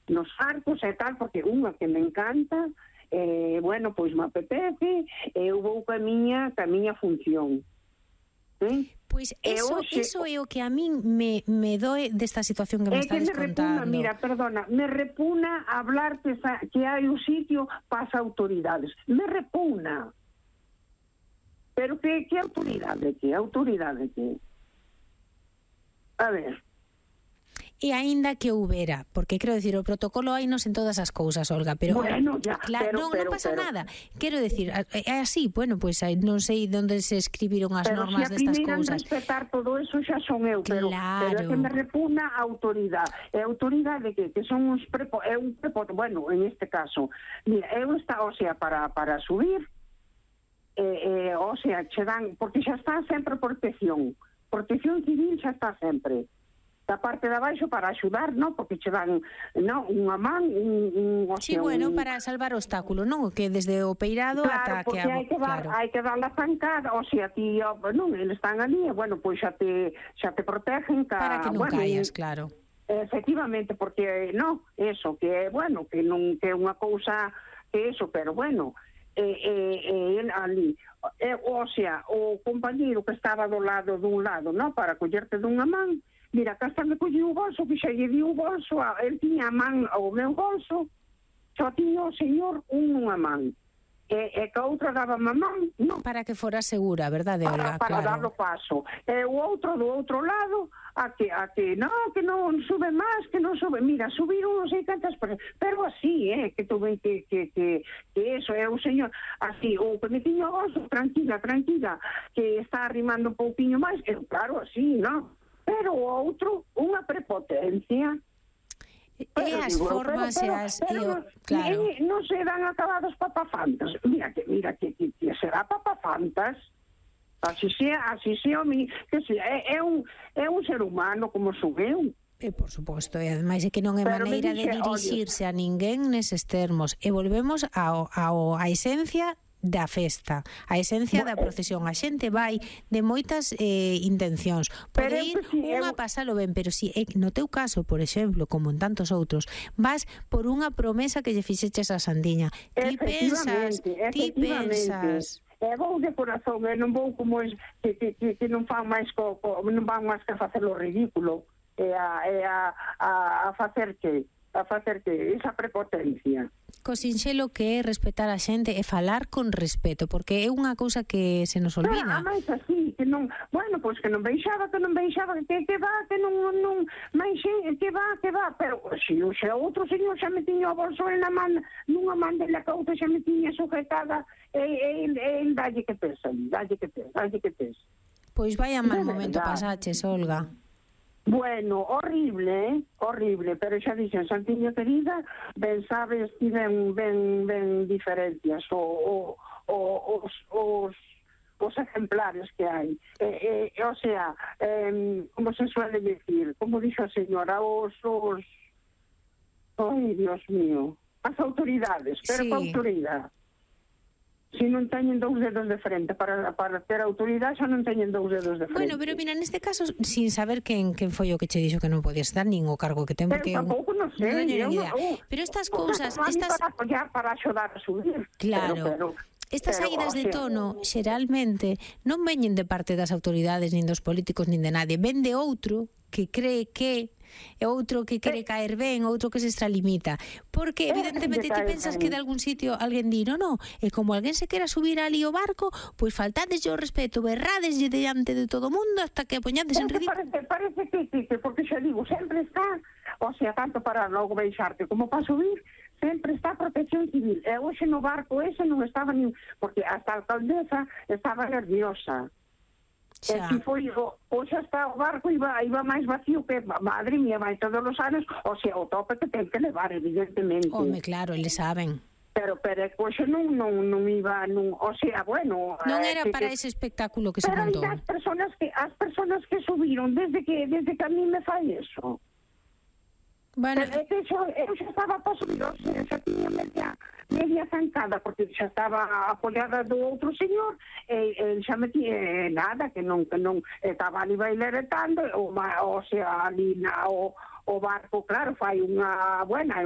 nos arcos e tal, porque unha que me encanta, bueno, pois me apetece, eu vou ca miña función. Pois eso é o que a min me doe desta situación que me estades contando. Me repugna hablar que hai un sitio para as autoridades. Me repugna. Pero que autoridade que? Autoridade que? A ver... E aínda que houbera, porque quero decir, o protocolo hainos en todas as cousas, Olga, pero bueno, ya, claro, non pasa nada. Quero decir, é así, bueno, pois non sei onde se escribiron as normas destas cousas. Pero se a respetar todo eso xa son eu, pero é que me repugna a autoridade. E a autoridade que son uns bueno, en este caso, mira, eu está, o sea, para subir, o sea, che dan, porque xa está sempre protección civil xa está sempre. Da parte de abaixo para axudar, non? Porque che dan unha man, sí, bueno, para salvar o obstáculo, non? Que desde o peirado ata que... Claro, porque hai que dar la zancada, o sea, ti, non, eles están ali, bueno, pois xa te protegen... Para que non caías, claro. Efectivamente, porque, non, eso, que, bueno, que non que é unha cousa que eso, pero, bueno... ali, o sea, o compañeiro que estaba dun lado, non? Para collerte dunha man... Mira, cá está me colleu o bolso, que xa lle di o bolso, el tiña a man ao meu bolso, só tiña o señor unha man. E que a outra daba a man, non? Para que fora segura, verdade, Olga? Para dar o paso. E o outro do outro lado, a que non sube máis, que non sube. Mira, subiron non sei cantas personas, pero así, que tuve que eso, é o señor, así, o que me tiña o bolso, tranquila, que está arrimando un pouquiño máis, claro, así, non? Pero o outro, unha prepotencia. E as formas e as... Claro. Non se dan acabados papafantas. Mira que será papafantas. Así sea, é un ser humano como subeu. Por suposto, e ademais é que non é maneira de dirixirse a ninguén neses termos. E volvemos á esencia da festa, a esencia da procesión. A xente vai de moitas intencións, pode ir unha pasalo ben, pero si no teu caso, por exemplo, como en tantos outros, vas por unha promesa que lle fixeches a Sandiña. Ti pensas vou de corazón, non vou como que non fan máis non van máis que facer o ridículo a facer que esa prepotencia. Co sinxelo que é respetar a xente e falar con respeto, porque é unha cousa que se nos olvida. Mais así, que non, bueno, pois que non baixaba, que non, máis que va, pero se outro señor xa me tiña o bolso na man, nunha man de la cauta xa me tiña sujetada, el dalle que pesa. Pois vai a mal momento pasaches, Olga. Bueno, horrible, pero xa dixen, Santiño querida, ben sabes, ti ben diferencias os ejemplares que hai. O sea, como se suele decir, como dixo a señora, ai, Dios mío, as autoridades, pero sí. Pa autoridade. Se non teñen dous dedos de frente para ter autoridade, xa non teñen dous dedos de frente. Bueno, pero mira, neste caso, sin saber quen foi o que che dixo que non podías dar, nin o cargo que ten, porque tampouco non sei, pero estas cousas, para axudar a subir. Claro. Estas saídas de tono, xeralmente, non veñen de parte das autoridades, nin dos políticos, nin de nadie. Ven de outro que cree que e outro que quere caer ben, outro que se extralimita, porque evidentemente ti pensas que de algún sitio alguén di, no, e como alguén se quera subir ali ao barco, pois faltadeslle o respeto, berradeslle diante de todo o mundo hasta que apoñades en ridículo. Parece que, porque xa digo, sempre está, o sea, tanto para logo baixarte como para subir, sempre está a protección civil. E hoxe no barco ese non estaba nin, porque hasta a alcaldesa estaba nerviosa. Xa. E foi, xa está o barco, iba máis vacío que, madre mía, vai todos os anos, o sea, o tope que ten que levar, evidentemente. Home, claro, eles saben. Pero hoxe non iba, o sea, bueno... Non era para ese espectáculo que se montou. Pero as personas que subiron, desde que a mí me fai eso... Bueno, eu xa estaba para subir, xa tiña media zancada, porque xa estaba apoiada do outro señor, e xa me tiña nada, que non estaba ali bailaretando, o sea, ali o barco, claro, fai unha buena...